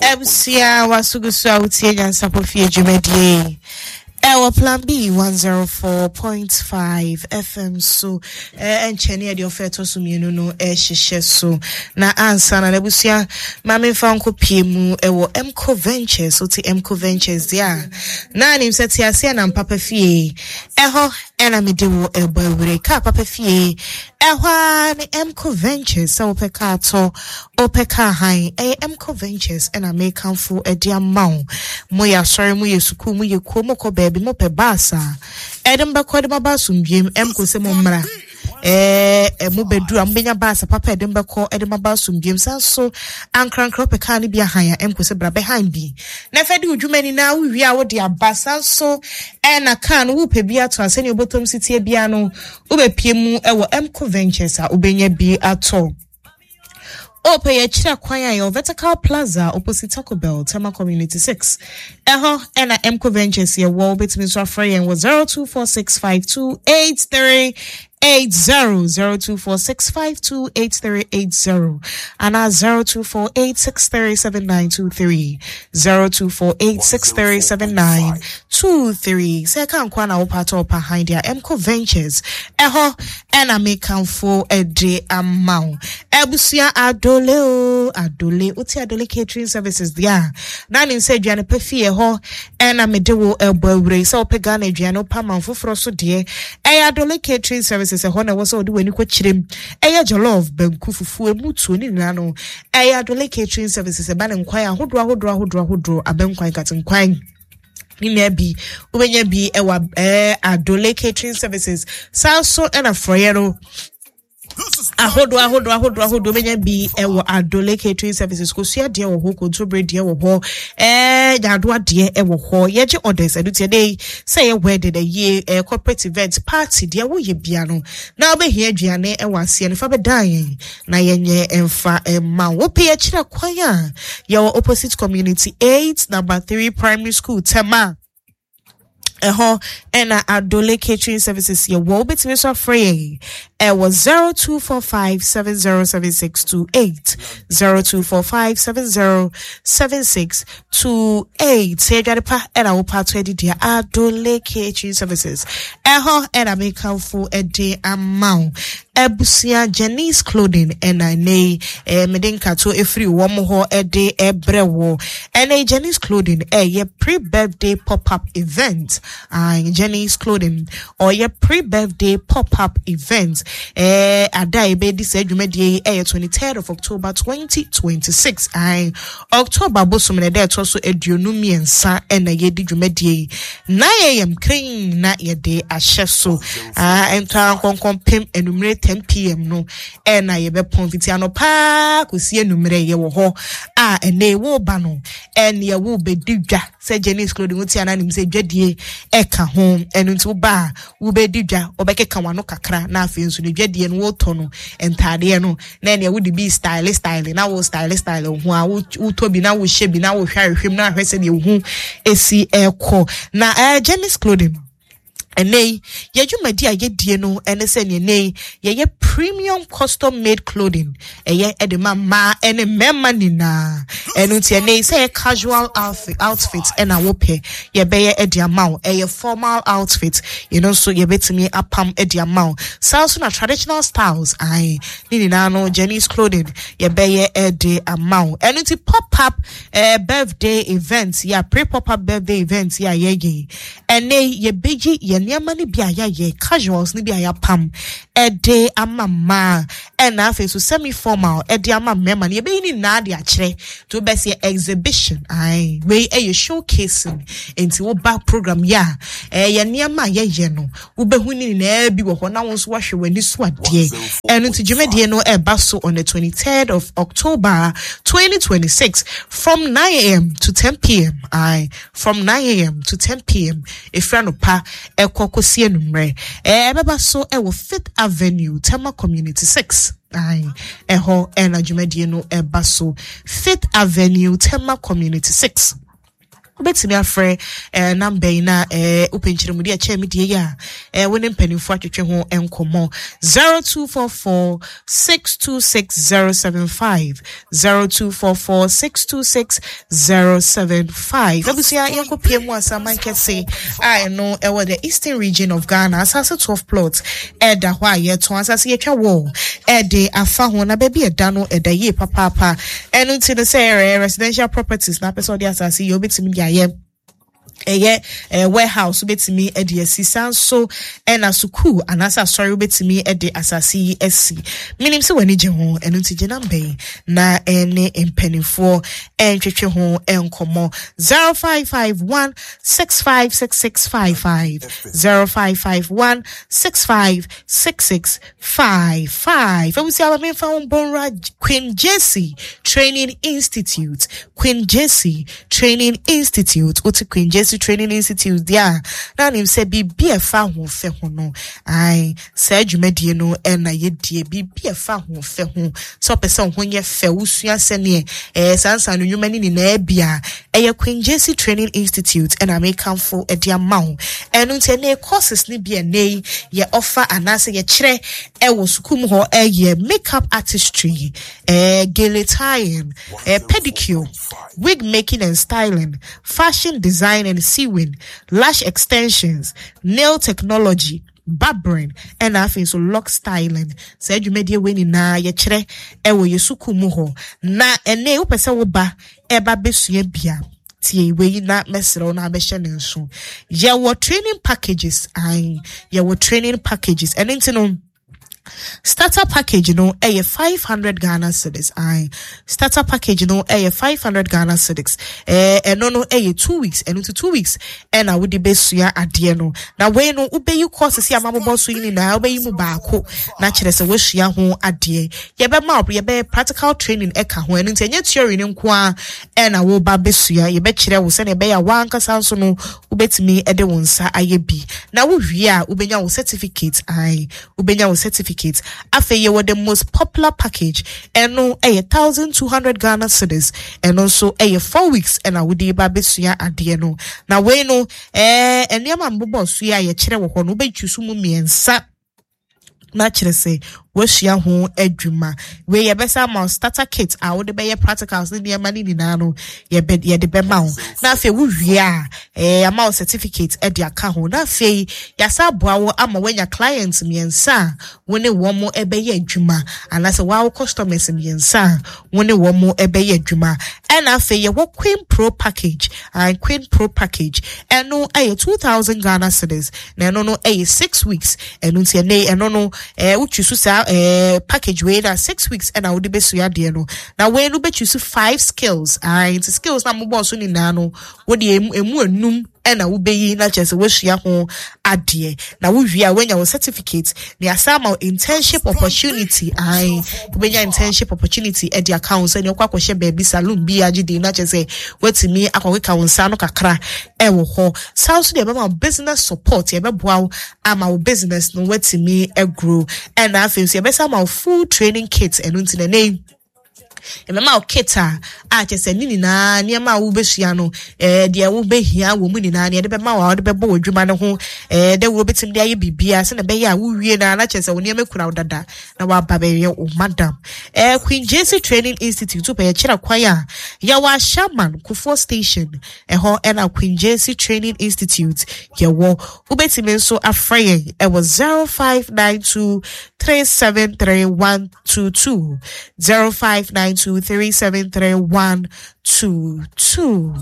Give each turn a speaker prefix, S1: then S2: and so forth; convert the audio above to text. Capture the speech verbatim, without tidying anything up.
S1: Abusua, wasogu so a wotie Nyansapɔ Fie dwumadie ɛwɔ Plan B one oh four point five F M so. Ɛnkyɛ ne yɛde ɔfɛ ɛtɔ so mmienu no ɛhyehyɛ so, na ansa na n'abusua, maame mfa nkɔ pie mu ɛwɔ Mco Ventures. Wote Mco Ventures deɛ a, na anim sɛ te aseɛ na mpapa fie ɛhɔ ɛna mede wɔ ɛbɔ awure kaa papa fie ɛhɔ a ne Mco Ventures. Sɛ wopɛ kaa tɔ, wopɛ kaa han, ɛyɛ Mco Ventures ɛna mekamfo ɛde ama wo. Moyɛ asɔre, moyɛ sukuu, moyɛ kuo, mokɔ baabi, mopɛ bus a ɛde mbɛkɔ de maba asomdwem, Mco sɛ mo mmra. ɛɛ mo bɛduru a, mobɛnya bus papa ɛde mbɛkɔ ɛde maba asomdwem. San so ankrankra, wopɛ kaa no bi ahan a, Mco sɛ bra bɛhan bi na ɛfɛ de wo dwuma nyinaa, wowie a wode aba. San so ɛna kaa no wopɛ bi ato a, sɛnea wobɛtɔm si tie bia no, wobɛpie mu ɛwɔ Mco Ventures a, wobɛnya bi atɔ. Ɔpɛ yɛkyerɛ kwan a, yɛwɔ Vertical Plaza, opposite Taco Bell, Tema Community six. Ɛhɔ ɛna Mco Ventures yɛwɔ. Wobɛtumi nso afrɛ yɛn wɔ zero two four six five two eight three eight zero, zero two four six five two eight three eight zero and zero two four eight six three seven nine two three, zero two four eight six three seven nine two three. Sɛ ɛka nkwa na wopɛ atɔ ɔpa han deɛ, Mco Ventures ɛhɔ ɛna mekamfo ɛde ama wo. Abusua, Adole o Adole, wote Adole Catering Services deɛ a, na ne sɛ aduane pa fie hɔ ɛna mede wo ɛbɔ awura yi. Sɛ wopɛ Ghana aduane, wopɛ aman foforɔ so deɛ, ɛyɛ Adole Catering Services ɛhɔ na ɛwɔ sɛ wode w'ani kɔkyerɛ mu. Ɛyɛ jollof, banku, fufuo, emu tuo ne nyinaa no, ɛyɛ Adole Catering Services. Ɛba ne nkwan ahodoɔ ahodoɔ ahodoɔ ahodoɔ, abɛnkwan, katenkwan ne nyinaa bi, wobɛnya bi ɛwɔ ɛɛ Adole Catering Services. Saa nso ɛna frɔyɛ no ahodoɔ ahodoɔ ahodoɔ ahodoɔ, bɛnya bi ɛwɔ Adole Catering Services. Kosua deɛ wɔ hɔ, kontobere deɛ wɔ hɔ, ɛɛ nyaadoa deɛ ɛwɔ hɔ. Yɛgye orders ɛno tiɛ de sɛ ɛyɛ wedding, ɛyie, ɛɛ corporate event, party deɛ woyɛ bia no na wobɛhia aduane ɛwɔ aseɛ no, fa bɛdan yɛn na yɛnyɛ ɛmfa ɛma wo. Wopɛ yɛkyerɛ kwan a, yɛwɔ opposite Community eight Number three Primary School, Tema. Ɛhɔ ɛna Adole Catering Services yɛwɔ. Wobɛtumi nso afrɛ yɛn ɛwɔ zero two four five seven zero seven six two eight, zero two four five seven zero seven six two eight. Sɛ aduane pa ɛna wopɛ ato adi deɛ, Adole Catering Services ɛhɔ ɛna mekamfo ɛde ama wo. Abusua, Janice Clothing ɛna ɛnɛ yi ɛɛ mede nkato efiri wɔn hɔ ɛde ɛbrɛ wɔ. Ɛnɛ yi Janice Clothing ɛyɛ pre-birthday pop-up event. uh, Janice Clothing ɔyɛ pre-birthday pop-up event. ɛɛ ada a yɛbɛdi saa dwumadie yi ɛyɛ twenty-third of October twenty twenty-six. Ayi, October bosom na ɛda ɛtɔ so aduonu mmiɛnsa ɛna yɛdi dwumadie yi. nine a m kren na yɛde ahyɛ so. Aa ntɔ nkɔnkɔn pem enumere ten p m no ɛna yɛbɛpɔn. Fiti anɔpaa kɔsi enumere yɛwɔ hɔ a ɛnɛ wɔreba no, ɛne ɛwɔ bɛdi dwa. Sɛ Janice Clothing wote ananim sɛ dwadie ɛka ho, ɛno nti woba a, wobɛdi dwa, wobɛkeka w'ano kakra, na afei nso ne dwadie no, wotɔ no ntaadeɛ no na ɛnea wode bi style style na wo style style ho a, wotɔ bi na wohyɛ bi na wohwɛ ahwehwɛ mu na ahwɛ sɛdeɛ wo ho esi ɛkɔ. Na ɛɛ Janice Clothing, ɛnɛ yi yɛdwumadi a yɛdie no ɛne sɛ neɛ ɛnɛ yi yɛyɛ premium custom made clothing, ɛyɛ ɛde ma mmaa ɛne mmarima nyinaa. Ɛno nti ɛnɛ yi sɛ ɛyɛ casual outfit outfit ɛna wopɛ, yɛbɛyɛ ɛde ama wo. Ɛyɛ formal outfit, yɛno nso yɛbɛtumi apam ɛde ama wo. Saa nso na traditional styles ae ne nyinaa no, Janice Clothing yɛbɛyɛ ɛde ama wo. Ɛno nti pop up ɛɛ birthday event yɛ, pre pop up birthday event yɛ a yɛyɛ ɛnɛ yi, yɛbɛgye yɛn nneɛma no bi a yɛayɛ, casuals no bi a yɛapam ɛde ama mmaa, ɛna afei nso semi formal ɛde ama mmarima no, yɛbɛyi ne nyinaa de akyerɛ nti wobɛsɛ exhibition ae, wei ɛyɛ showcasing. Nti woba program yi a, ɛyɛ nneɛma a yɛyɛ no, wobɛhu ne nyinaa bi wɔ hɔ na wo nso woahwɛ w'ani so adeɛ. Ɛno nti dwumadie no ɛba so on the twenty-third of October twenty twenty-six from nine a m to ten p m. Aye, from nine a m to ten p m, ɛfiri anɔpa ɛkɔ kɔsi anwummerɛ. Ɛɛ ɛbɛba so ɛwɔ Fifth Avenue, Tema Community six. Aye, ɛhɔ ɛna dwumadie no ɛba so, Fifth Avenue, Tema Community six. Wobɛtumi afrɛ eh, number yi na eh, wopɛ nkyerɛmudi a ɛkyɛn me deɛ yi a, eh, wo ne mpanimfoɔ atwetwe ho nkɔmmɔ. zero two four four six two six zero seven five, zero two four four six two six zero seven five. Abusua, yɛnkɔpie mu Asaman Kɛse a ɛno ɛwɔ the Eastern Region of Ghana. Asase twelve plot ɛda hɔ a yɛtɔn. Asase yɛtwa wɔ ɛde afa ho na baabi ɛda no ɛda yie papaapa. Ɛno nti no, sɛ ɛyɛ residential properties na apɛ sɛ ɔde asase yɛ, wobɛtumi de ayɛ. Ɛyɛ ɛɛ warehouse, wobɛtumi de asi. San so ɛna sukuu anaasɛ asɔre, wobɛtumi de asase yi asi. Menim sɛ w'ani gye ho, ɛno nti gye number yi na ɛne mpanimfoɔ ɛntwetwe ho nkɔmmɔ: zero five five one six five six six five five, zero five five one six five six six five five. Abusua, aba memfa wo mbɔnwura Queen Jesse Training Institute. Queen Jesse Training Institute, wote Queen Jesse Training Institute deɛ a, na anim sɛ biribi a ɛfa ahoɔfɛ ho no, ae, saa dwumadie no ɛna yɛdie. Biribi a ɛfa ahoɔfɛ ho, sɛ ɔpɛ sɛ wo ho nyɛ fɛ, wosua sɛneɛ ɛɛ saa nsa no nnwuma no nyinaa bi a, ɛyɛ Queen Jesse Training Institute ɛna mekamfo ɛde ama wo. Ɛno nti ɛnɛ courses no bi ɛnɛ yi yɛ ɔfa anaasɛ yɛkyerɛ ɛwɔ sukuu mu hɔ ɛyɛ makeup artistry, ɛɛ gele tying, ɛɛ pedicure, wig making and styling, fashion design and sewing, lash extensions, nail technology, barbering, ɛna afei nso lock styling. Saa dwumadie wei nyinaa yɛkyerɛ ɛwɔ yɛ sukuu mu hɔ. Na ɛnɛ wopɛ sɛ woba ɛba bɛsua bia, tie wei na mɛsrɛ wo na abɛhyɛ ne nso. Yɛwɔ training packages, ae, yɛwɔ training packages. Ɛno nti no, starter package no ɛyɛ five hundred Ghana cedis. Ae, starter package no ɛyɛ five hundred Ghana cedis. ɛɛ ɛno no ɛyɛ two weeks. Ɛno nti two weeks ɛna wode bɛsua adeɛ no. Na wei no, wobɛyi courses yi a mabobɔ so yi nyinaa, wobɛyi mu baako na kyerɛ sɛ woasua ho adeɛ. Yɛbɛma wo, yɛbɛyɛ practical training ɛka ho. Ɛno nti ɛnyɛ theory no nko a ɛna woba bɛsua. Yɛbɛkyerɛ wo sɛnea ɛbɛyɛ a wankasa nso no wobɛtumi de wo nsa ayɛ bi. Na wowie a, wobɛnya wo certificate. Ae, wobɛnya wo certificate. Afei yɛwɔ the most popular package. Ɛno ɛyɛ thousand two hundred Ghana cedis. Ɛno nso ɛyɛ four weeks ɛna wode ba bɛsua adeɛ no. Na wei no, ɛɛ nneɛma mbobɔ so yi a yɛkyerɛ wɔ hɔ no, wobɛtwi so mu mmiɛnsa na kyerɛ sɛ woasua ho adwuma. Wei yɛbɛsa ama wo starter kit a wode bɛyɛ practicals ne nneɛma no nyinaa no, yɛbɛ yɛde bɛma wo. Na afei wowie a, ɛɛ ama wo certificate ɛde aka ho. Na afei yɛasa aboa wo ama woanya client mmiɛnsa a wo ne wɔn ɛbɛyɛ adwuma, anaasɛ wɔawo customers mmiɛnsa a wo ne wɔn ɛbɛyɛ adwuma. Ɛna afei yɛwɔ Queen Pro package and Queen Pro package, ɛno ɛyɛ two thousand Ghana cedis, na ɛno no ɛyɛ six weeks. Ɛno nti ɛnɛ ɛno no, ɛɛ wotwi so saa ɛɛ package wei na six weeks ɛna wode bɛsua adeɛ no. Na wei no, wobɛtwi so five skills. Ae, nti skills na mobɔɔ so nyinaa no, wode emu emu enum ɛna wobɛyi na kyerɛ sɛ woasua ho adeɛ. Na wowie a, woanya wo certificate na yɛasa ama wo internship opportunity. Ae, wobɛnya internship opportunity ɛde aka ho sɛ nea wokɔ akɔhyɛ baabi, salon bi agye din, na kyerɛ sɛ woatumi akɔkeka wo nsa no kakra ɛwɔ hɔ. Saa nso deɛ, ɛbɛma wo business support. Yɛbɛboa wo ama wo business no woatumi agrow. Ɛna afei nso yɛbɛsa ama wo full training kit. Ɛno nti na ɛnɛ yi ɛbɛma wo kit a a kyerɛ sɛ ne nyinaa, nneɛma a wobɛsua no, ɛɛ deɛ wobɛhia wɔ mu nyinaa ne yɛde bɛma wo a wode bɛbɔ w'adwuma no ho ɛɛ dɛ wobɛtumi de ayɛ biribiara sɛnea ɛbɛyɛ a wowie no a, na kyerɛ sɛ wo nneɛma kura wo dada na waba bɛyɛ wo madam. ɛɛ Queen Jesse Training Institute, wopɛ yɛkyerɛ kwan a, yɛwɔ Ashaiman Kufuor Station. Ɛhɔ ɛna Queen Jesse Training Institute yɛwɔ. Wobɛtumi nso afrɛ yɛn ɛwɔ zero five nine two three seven three one two two, zero five nine two three seven three one two two.